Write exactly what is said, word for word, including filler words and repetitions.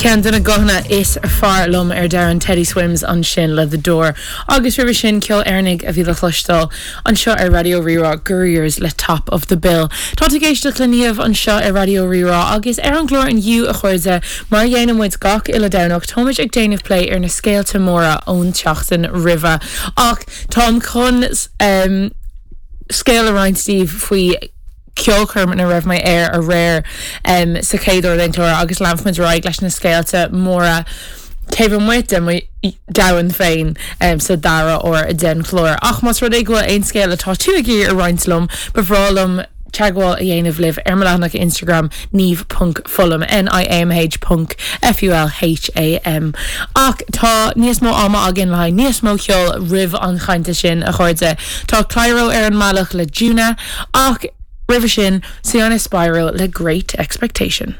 Ceann de na guthanna is fearr liom ar domhan Teddy Swims ansin le The Door. Agus roimhe sin ceol Éireannach a bhí le cloisteáil anseo ar Raidió Rí-Rá Gurriers le Top of the Bill. Tá ag éisteacht le Niamh anseo ar Raidió Rí-Rá agus ar an gclár inniu a chairde mar a dhéanann muid gach uile Domhnach táimid ag déanamh plé ar na scéalta móra ón tseachtain roimhe. Ach táim chun um, scéal a roinnt libh faoi ceolchoirm ina raibh mé ar aréir um, sa chéad uair den chlár agus leanfaimid ar aghaidh leis na scéalta móra taobh amuigh de mo domhan féin um, sa dara huair den chlár. Ach más rud é go bhfuil aon scéal atá tú ag iarraidh a roinnt liom, ba bhreá liom teagmháil a dhéanamh libh ar mo leathanach Instagram niamh.fulham N-I-A-M-H ponc F-U-L-H-A-M. Ach tá níos mó ama againn le níos mó ceol roimh an chainte sin a chairde. Tá Clairo ar an mbealach le Dúna ach roimhe sin Siana Spyro le Great Expectation.